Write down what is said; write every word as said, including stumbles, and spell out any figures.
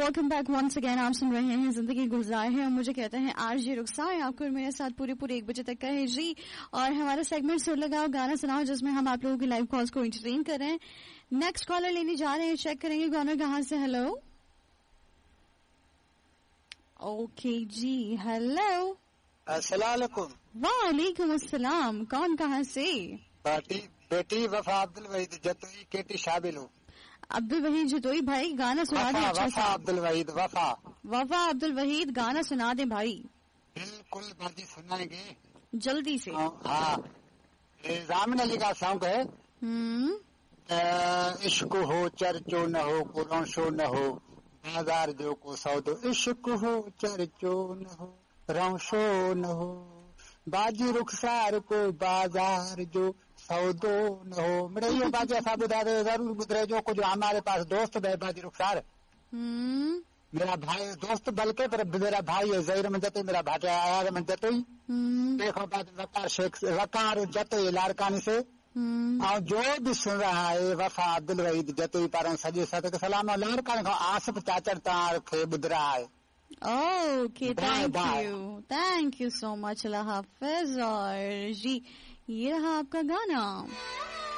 Welcome back once again. आप सुन रहे हैं जिंदगी गुलजार है और मुझे कहते हैं आरजे रुखसार। आपको मेरे साथ पूरे पूरे एक बजे तक का है जी। और हमारा सेगमेंट सुर लगाओ गाना सुनाओ, जिसमें हम आप लोगों की लाइव कॉल्स को एंटरटेन कर रहे हैं। नेक्स्ट कॉलर लेने जा रहे हैं, चेक करेंगे कॉलर कहाँ से। हेलो, ओके जी, हेलो, अस्सलाम वालेकुम। वालेकुम अस्सलाम। कौन कहाँ से? बेटी बेटी वफा अब्दुल वहीद जतोई केटी शामिल हो। अब्दुल वहीद जतोई भाई गाना सुना दे। अच्छा, वफा अब्दुल वहीद, वफा वफा अब्दुल वहीद गाना सुना दे भाई। बिल्कुल बाजी सुनाएंगे जल्दी से। हाँ, जामिन अली का सॉन्ग है। इश्क हो चर्चो न हो को रौशो न हो बाजार जो को सौदो। इश्क हो चर्चो न हो रौशो न हो बाजी रुखसार को बाजार जो सौदो न हो। मेरे ये बाजी असां ॿुधाए ज़रूर ॿुधाए जो कुछ हमारे पास दोस्त है बाजी रुखसार, मेरा भाई दोस्त बल्कि पर मेरा भाई है ज़हीर में जतोई, मेरा भाटे आया में जतोई। देखो बात वकार शेख वकार जतोई लाड़कानी से। और जो भी सुन रहा है वफा अब्दुल वहीद जतोई पारा सॼे सत सलाम। लाड़काने खां आसिफ चाचर तव्हां खे ॿुध रहा है। Okay, thank you, thank you so much. अल्लाह हाफिज। और जी ये रहा आपका गाना।